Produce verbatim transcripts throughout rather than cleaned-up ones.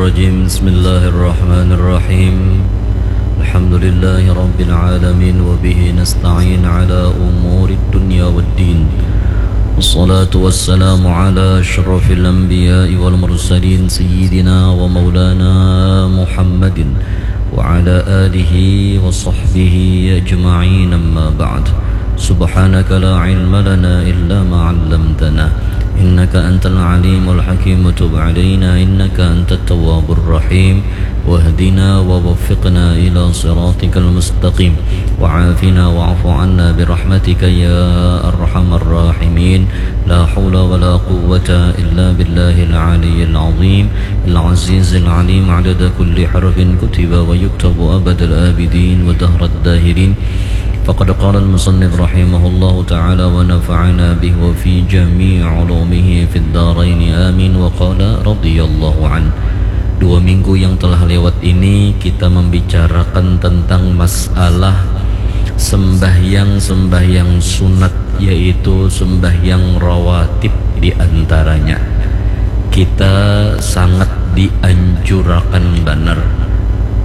الرجيم. بسم الله الرحمن الرحيم. الحمد لله رب العالمين، وبه نستعين على أمور الدنيا والدين. والصلاة والسلام على أشرف الأنبياء والمرسلين، سيدنا ومولانا محمد وعلى آله وصحبه أجمعين. أما بعد، سبحانك لا علم لنا إلا ما علمتنا، إنك أنت العليم الحكيم. تب علينا إنك أنت التواب الرحيم، واهدنا ووفقنا إلى صراطك المستقيم، وعافنا واعف عنا برحمتك يا أرحم الراحمين. لا حول ولا قوة إلا بالله العلي العظيم العزيز العليم، عدد كل حرف كتب ويكتب أبد الآبدين ودهر الداهرين. فقد قال المصنف رحمه الله تعالى ونفعنا به وفي جميع علومه في الدارين آمين. وقال رضي الله عنه. Dua minggu yang telah lewat ini kita membicarakan tentang masalah sembahyang-sembahyang sunat, yaitu sembahyang rawatib di antaranya. Kita sangat dianjurakan banar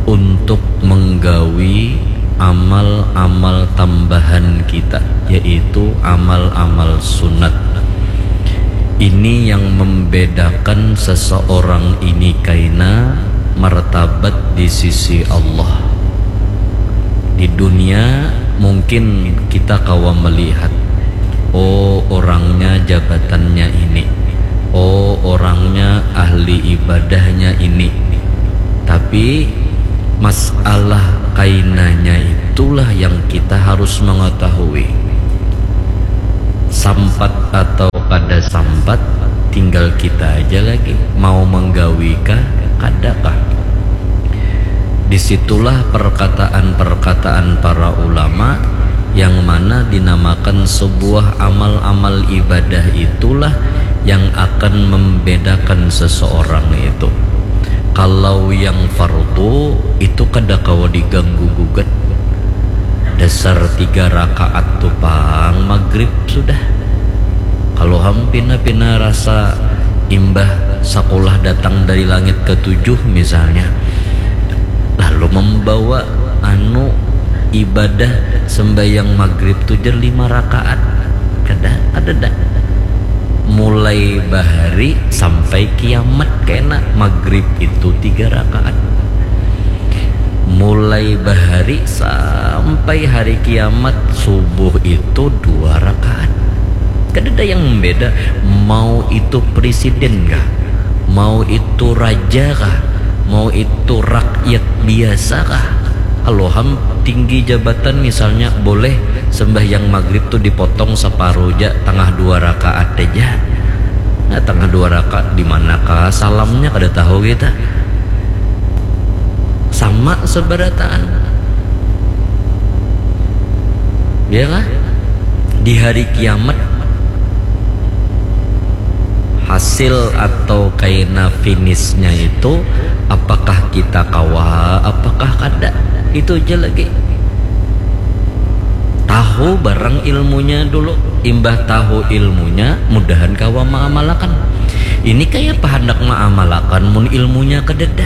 untuk menggawi amal-amal tambahan kita, yaitu amal-amal sunat. Ini yang membedakan seseorang ini kaina martabat di sisi Allah. Di dunia mungkin kita kawa melihat, oh, orangnya jabatannya ini, oh, orangnya ahli ibadahnya ini. Tapi masalah kainanya itulah yang kita harus mengetahui. Sampat atau kada sampat, tinggal kita aja lagi mau menggawi kah, kada kah. Disitulah perkataan-perkataan para ulama yang mana dinamakan sebuah amal-amal ibadah itulah yang akan membedakan seseorang itu. Kalau yang fardu itu kada kawa diganggu gugat. Dasar tiga rakaat tu pang magrib sudah. Kalau ham pina-pina rasa imbah sakulah datang dari langit ketujuh misalnya, lalu membawa anu ibadah sembahyang magrib tu jar lima rakaat, kada, kadada. Mulai bahari sampai kiamat kena magrib itu tiga rakaat. Mulai bahari sampai hari kiamat subuh itu dua rakaat. Kadada yang membeda, mau itu presiden kah, mau itu raja kah, mau itu rakyat biasa kah. Kalau ham tinggi jabatan misalnya, boleh sembahyang magrib tu dipotong separuh ja, tangah dua rakaat aja. Nah, tangah dua rakaat di manakah salamnya, kada tahu kita. Sama seberataan. Ya kah? Di hari kiamat, hasil atau kaina finishnya itu, apakah kita kawa, apakah kada, itu aja lagi. Tahu barang ilmunya dulu, imbah tahu ilmunya, mudahan kawa maamalakan. Ini kaya apa handak maamalakan mun ilmunya kadada?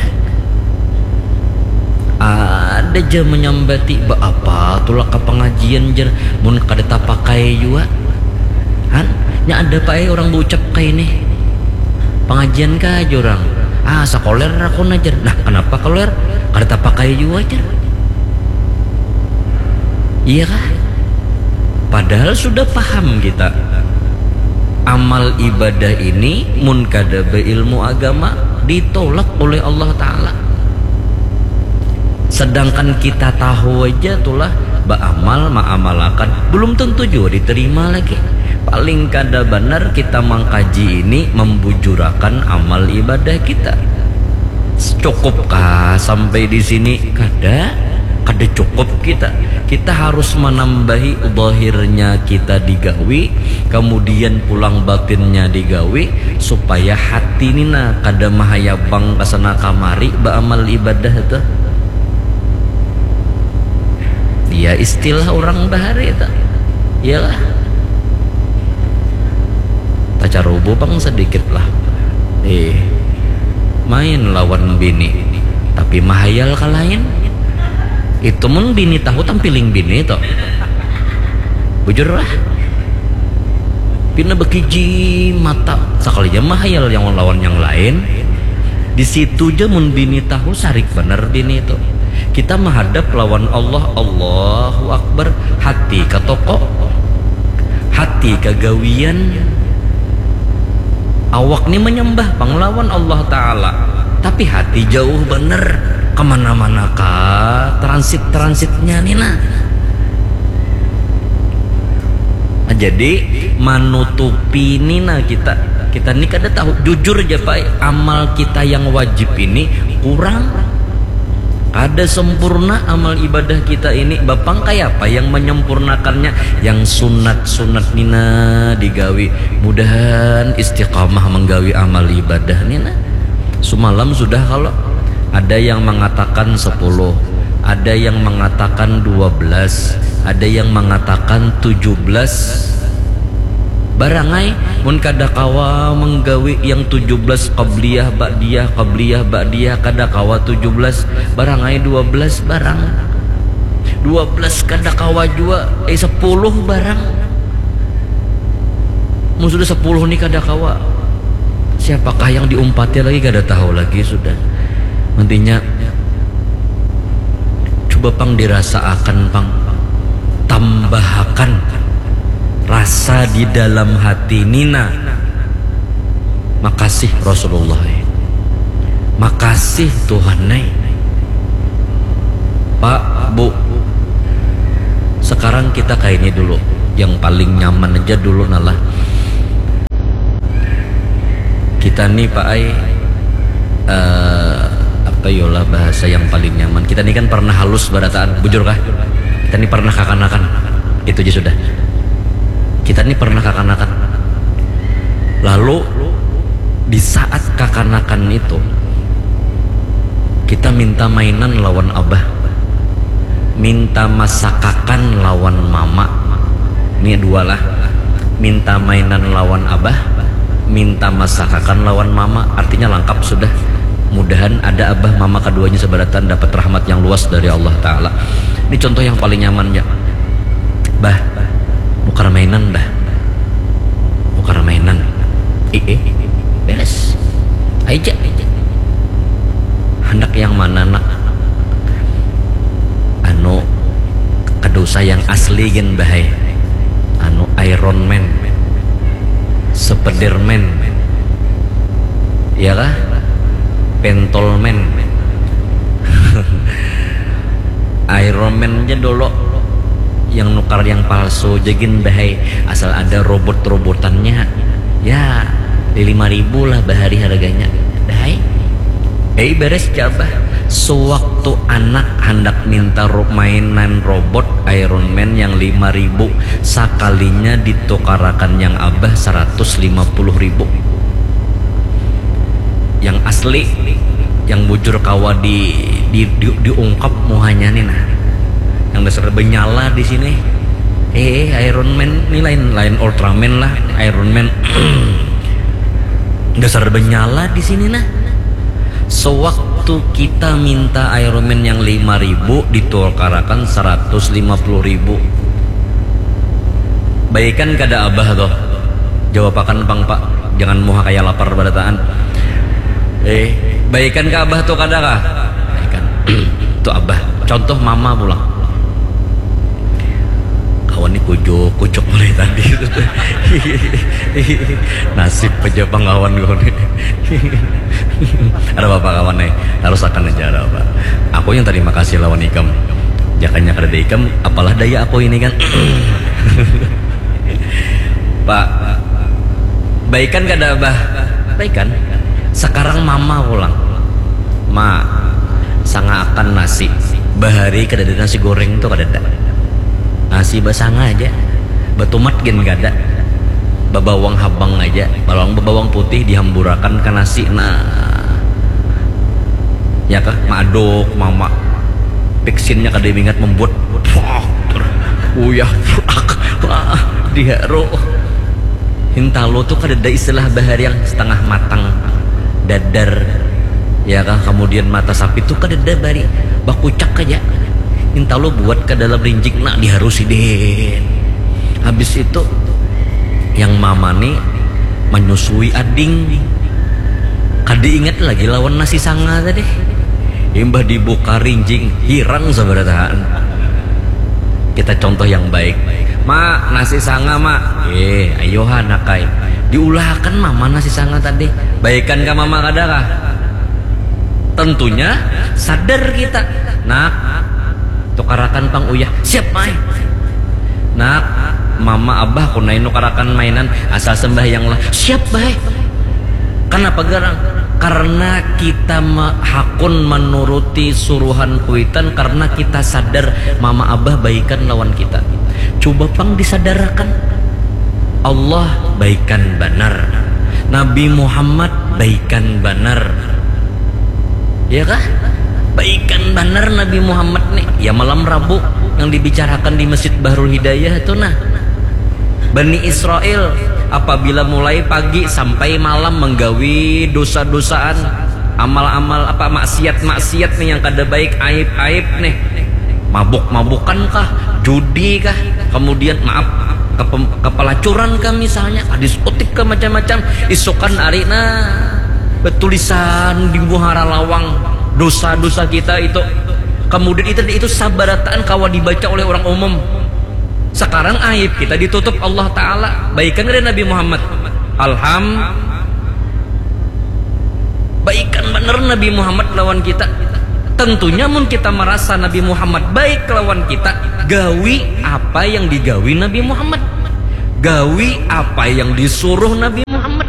Ada ja menyambati, "Baapa tulah ka pengajian," jar, "mun kada tapakai jua." Han, nya ada pae orang baucap kaini. Pengajian kah jar urang? "Ah, sakoler aku nah," jar. Nah, kenapa koler? Kada tapakai jua jar. Iya kah? Padahal sudah paham kita, amal ibadah ini mun kada beilmu agama ditolak oleh Allah Ta'ala. Sedangkan kita tahu aja tulah baamal, maamalakan, belum tentu juga diterima lagi. Paling kada banar kita mangkaji ini membujurakan amal ibadah kita. Cukupkah sampai di sini? Kada, kada cukup kita. Kita harus menambahi zahirnya kita digawi, kemudian pulang batinnya digawi, supaya hati ni nah kada mahayabang ka sana kamari baamal ibadah tuh. Ya, istilah orang bahari itu. Iyalah. Tacarubu pang sedikit lah. Eh. Main lawan bini, tapi mahayal ka lain. Itu mun bini tahu tampiling bini to. Bujur lah. Pina bakiji mata, sakalinya mahayal yang lawan yang lain. Di situ ja mun bini tahu, sarik banar bini itu. Kita mahadap lawan Allah, Allahu Akbar, hati ka toko, hati ka gawian. Awak ni manyambah pang lawan Allah Ta'ala, tapi hati jauh banar, kamana-mana ka transit-transitnya ni nah. Jadi manutupi ni nah kita, kita ni kada tahu, jujur ja Pak, amal kita yang wajib ini kurang. Kada sempurna amal ibadah kita ini. Bapang kayapa yang menyempurnakannya? Yang sunat-sunat nina digawi. Mudahan istiqamah menggawi amal ibadah nina. Sumalam sudah kalau ada yang mengatakan sepuluh, ada yang mengatakan dua belas, ada yang mengatakan tujuh belas. Barangai, mun kada kawa menggawi yang tujuh belas qabliyah ba'diyah, qabliyah ba'diyah, kada kawa tujuh belas, barangai dua belas barang. Dua belas kada kawa jua, eh, sepuluh barang. Mun sudah sepuluh ni kada kawa. Siapakah yang diumpati lagi kada tahu lagi sudah. Intinya, coba pang dirasaakan pang. Tambahakan rasa di dalam hati nina. Makasih Rasulullah, eh. Makasih Tuhan, eh. Pak, Bu, sekarang kita kayak ini dulu. Yang paling nyaman aja dulu nalah. Kita nih Pak ai, eh, apa yolah bahasa yang paling nyaman. Kita nih kan pernah halus barataan, bujur kah? Kita nih pernah kakanakan. Itu aja sudah. Kita nih pernah kakanakan. Lalu di saat kakanakan itu, kita minta mainan lawan abah, minta masakakan lawan mama. Ini dua lah. Minta mainan lawan abah, minta masakakan lawan mama. Artinya langkap sudah. Mudahan ada abah mama keduanya seberatan dapat rahmat yang luas dari Allah Ta'ala. Ini contoh yang paling nyamannya. Bah, nukar mainan bah. Nukar mainan. Ih, eh, beres. Aja. Handak yang mana nak? Anu, kada usah yang asli gin bah ai. Anu, Iron Man, Spiderman, ya kah? Pentolman. Iron Man aja dulu, yang nukar yang palsu aja gin bah ai. Asal ada robot-robotannya, ya, di lima ribu lah bahari harganya. Dah ai. Eh, beres ja abah. Sewaktu anak handak minta ro-, mainan robot Iron Man yang lima ribu, sakalinya ditukarakan yang abah seratus lima puluh ribu. Yang asli, yang bujur kawa di, di, di, diungkap muhanya nih nah. Yang dasar benyala di sini. Eh, Iron Man ni lain, lain Ultraman lah, Iron Man. Dasar benyala di sini nah. Sewaktu kita minta Iron Man yang lima ribu, ditukarakan seratus lima puluh ribu. Baikan kada abah tuh? Jawabakan pang, Pak. Jangan muha kaya lapar barataan. Eh, baikan ka abah tuh kada kah? Baikan. Tuh abah. Contoh mama pulang. Kawan ni kujuk, kujuk mulai tadi. Nasib aja pang kawan kawan ni. Ada apa kawan ni? Harus akan aja ada apa. Aku yang terima kasih lawan ikam. Jakanya kada ada ikam, apalah daya aku ini kan. Pak, baikan kada abah? Baikan. Sekarang mama pulang. Ma, sangaakan nasi. Bahari kadada nasi goreng tu kadada. Nasi basanga aja. Batumat gin kada. Babawang habang aja. Bawang, babawang putih dihamburakan ka nasi. Nah. Ya kah? Maaduk, mama. Piksinnya kada ingat membuat. Uyah, prak. Wah, diharu. Hintalu tu kadada istilah bahari yang setengah matang. Dadar. Ya kah, kemudian mata sapi tu kadada bari, bakucak aja. Intalu buat ke dalam rinjing, nak diharusi deh. Habis itu yang mama ni menyusui ading. Kada ingat lagi lawan nasi sanga tadi. Imbah dibuka rinjing, hirang sabarataan. Kita contoh yang baik. Ma, nasi sanga, Ma. Eh, ayo ha, nak ai. Diulahakan mama nasi sanga tadi. Baikan kah mama, kada kah? Tentunya sadar kita. Nak, tukarakan pang uyah. Siap, Mai. Nak, mama abah kunai nukarakan mainan, asal sembahyang lah. Siap, Bah. Kenapa garang? Karena kita me- hakun menuruti suruhan kuitan, karena kita sadar mama abah baikan lawan kita. Coba pang disadarakan. Allah baikan banar. Nabi Muhammad baikan banar. Ya kah? Baikan banar Nabi Muhammad nih. Ya, malam Rabu yang dibicarakan di Masjid Bahrul Hidayah tu nah. Bani Israel apabila mulai pagi sampai malam menggawi dosa-dosaan, amal-amal apa, maksiat-maksiat nih yang kada baik, aib-aib nih. Mabuk-mabukan kah, judi kah, kemudian maaf, kepem- kepelacuran kah misalnya, diskotik kah, macam-macam. Isukan ari nah, betulisan di muhara lawang dosa-dosa kita itu. Kemudian itu itu sabarataan kawa dibaca oleh orang umum. Sekarang aib kita ditutup Allah Ta'ala. Baikan dari Nabi Muhammad. Alham. Baikan bener Nabi Muhammad lawan kita. Tentunya mun kita merasa Nabi Muhammad baik lawan kita, gawi apa yang digawi Nabi Muhammad. Gawi apa yang disuruh Nabi Muhammad.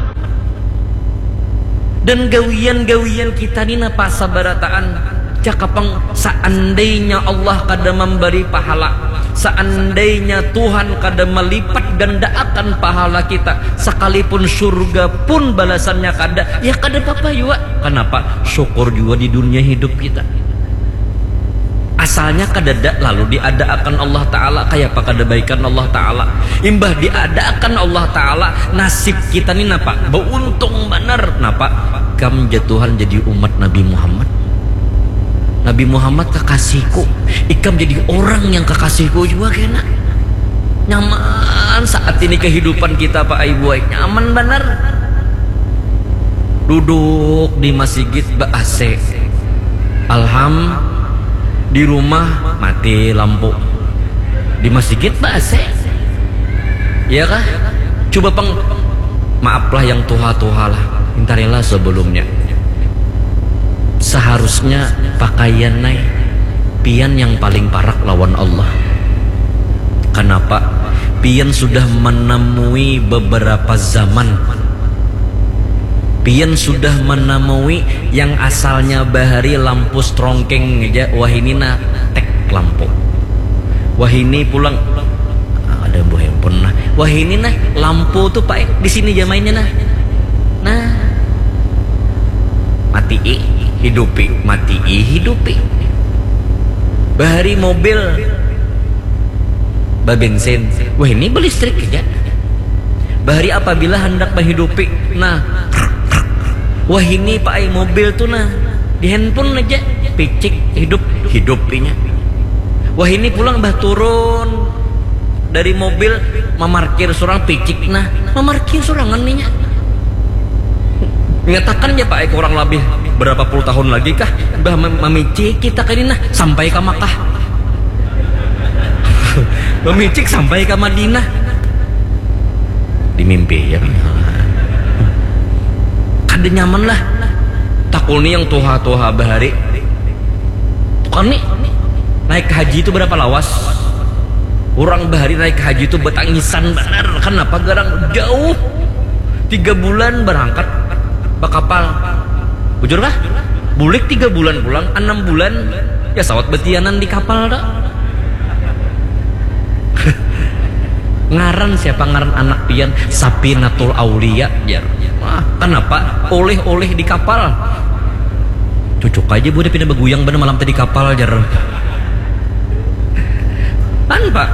Dan gawian-gawian kita ni napa sabarataan? Cakapang, seandainya Allah kada memberi pahala, seandainya Tuhan kada melipat gandaakan pahala kita, sekalipun surga pun balasannya kada, ya kada apa-apa jua. Kenapa? Syukur jua di dunia hidup kita. Asalnya kadada lalu diadaakan Allah Ta'ala, kayapa kada baikan Allah Ta'ala. Imbah diadaakan Allah Ta'ala, nasib kita ni napa? Beuntung banar. Napa? Ikam ja Tuhan jadi umat Nabi Muhammad. Nabi Muhammad kakasihku. Ikam jadi orang yang kakasihku jua kena. Nyaman saat ini kehidupan kita, Pak Ai Buai. Nyaman banar. Duduk di masigit ba A C. Alham, di rumah mati lampu. Di masigit ba A C. Iya kah? Coba pang, maaflah yang tuha-tuha lah. Intarilah sebelumnya. Seharusnya pakaian nai, pian yang paling parak lawan Allah. Kenapa? Pian sudah menemui beberapa zaman. Pian sudah menemui yang asalnya bahari lampu strongkeng aja, wahini nah tek lampu. Wahini pulang, ah, ada buah handphone nah. Wahini nah lampu tuh, Pak, di sini jamainnya nah. Nah. Matii, hidupi, matii, hidupi. Bahari mobil babensin. Wah, ini belistrik aja. Bahari apabila hendak menghidupi, nah, wah, ini, Pak ai, mobil tuh nah, di handphone aja, picik, hidup, hidupinya. Wah, ini pulang bah turun dari mobil, memarkir surang, picik nah, memarkir surangan ninya. Nyatakan ya, Pak ai, kurang lebih berapa puluh tahun lagi kah, bah mem- memicik kita kali nah sampai ke Makkah. Memicik sampai ke Madinah. Dimimpi ya. Kada nyaman lah. Takuni yang tuha-tuha bahari. Tukang nih, naik haji itu berapa lawas? Orang bahari naik haji itu betangisan benar. Kenapa? Garang jauh. Tiga bulan berangkat bakapal. Bujur kah? Bulik tiga bulan pulang, enam bulan ya sawat betianan di kapal dah. Ngaran siapa ngaran anak pian? Sapinatul Aulia, jar. Wah, kenapa? Oleh-oleh di kapal. Cucuk aja budak pina beguyang bener malam tadi kapal, jar. Kan, Pak?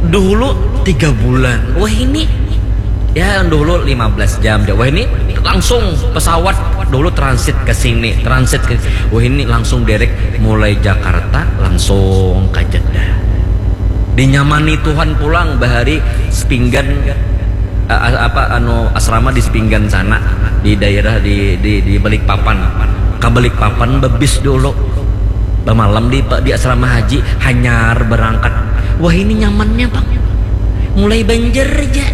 Dulu tiga bulan. Wah, ini Ya, dulu lima belas jam. Wah, ini langsung pesawat dulu transit ke sini, transit ke, wah, ini langsung direct mulai Jakarta langsung ke Jeddah. Dinyamani Tuhan pulang bahari Sepinggan, eh, apa, anu, asrama di Sepinggan sana, di daerah di di di Balikpapan. Ke Balikpapan bebis dulu. Bamalam di di asrama haji, hanyar berangkat. Wah, ini nyamannya, Bang. Mulai Banjar aja.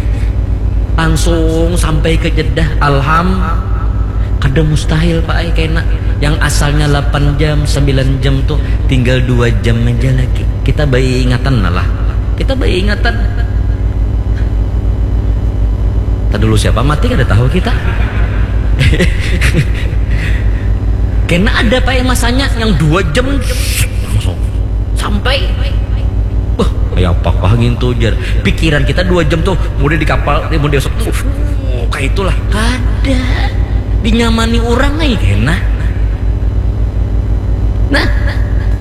Langsung sampai ke Jeddah. Alham, kada mustahil, Pak ai, kena. Yang asalnya delapan jam, sembilan jam tuh tinggal dua jam aja lagi. Kita bayi ingatan lah. Kita bayi ingatan. Tadi dulu siapa mati kada tahu kita. Kena ada, Pak ai, masanya yang dua jam langsung sampai. Wah, kayak apakah gitu, jar. Pikiran kita dua jam tuh, mau di kapal, mau di, kayak itulah. Kada. Dinyamani orang ai kena. Nah,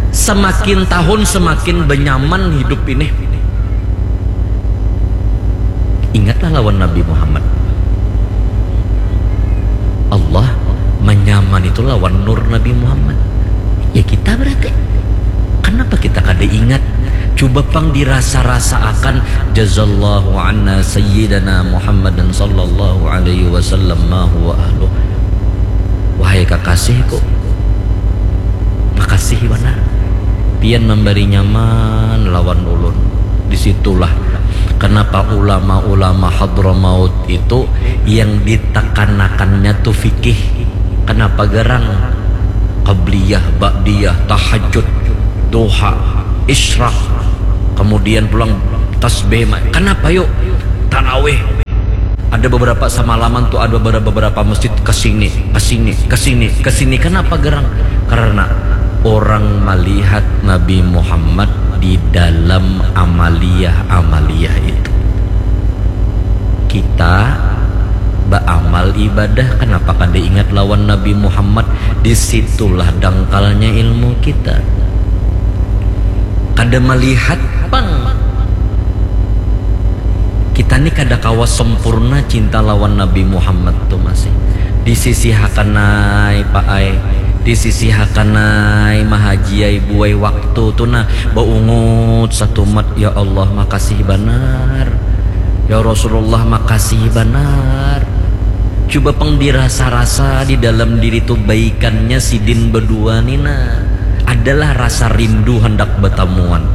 semakin tahun semakin benyaman hidup ini. Ingatlah lawan Nabi Muhammad. Allah menyaman itu lawan nur Nabi Muhammad. Ya, kita berarti. Kenapa kita kada ingat? Coba pang dirasa-rasaakan, jazallahu anna sayyidana Muhammadan sallallahu alaihi wasallam ma huwa ahlu. Wahai kakasihku, makasih banar. Pian memberi nyaman lawan ulun. Disitulah kenapa ulama-ulama Hadramaut itu yang ditekanakannya tuh fikih. Kenapa garang? Qabliyah, ba'diyah, tahajud, duha, isyraq, kemudian pulang tasbih. Kenapa yuk? Tarawih. Ada beberapa semalaman tuh, ada beberapa, beberapa masjid ke sini, ke sini, ke sini, ke sini. Kenapa garang? Karena orang melihat Nabi Muhammad di dalam amaliyah-amaliyah itu. Kita beramal ibadah, kenapa kada ingat lawan Nabi Muhammad? Disitulah dangkalnya ilmu kita. Kada melihat pang. Kita ni kada kawa sempurna cinta lawan Nabi Muhammad tu masih. Disisihakan ai, Pak ai. Disisihakan ai, mahaji ai, buai, waktu tu nah baungut satumat, ya Allah, makasih banar. Ya Rasulullah, makasih banar. Coba pang dirasa-rasa di dalam diri tu baikannya sidin bedua ni nah. Adalah rasa rindu handak betamuan.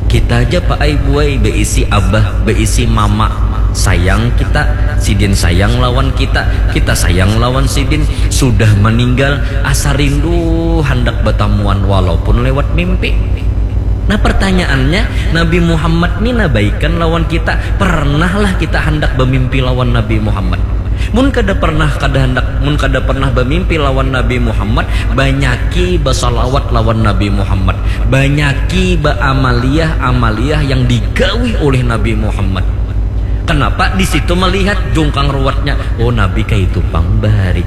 Kita aja, Pak ai, buai, beisi abah, beisi mama. Sayang kita, sidin sayang lawan kita, kita sayang lawan sidin. Sudah meninggal, asa rindu handak betamuan walaupun lewat mimpi. Nah, pertanyaannya, Nabi Muhammad ni nah baikan lawan kita. Pernahlah kita handak bemimpi lawan Nabi Muhammad? Mun kada pernah, kada handak, mun kada pernah bemimpi lawan Nabi Muhammad, banyaki basalawat lawan Nabi Muhammad, banyaki baamaliyah-amaliyah yang digawi oleh Nabi Muhammad. Kenapa? Di situ melihat jungkang ruwetnya. Oh, Nabi kaitu pang bahari.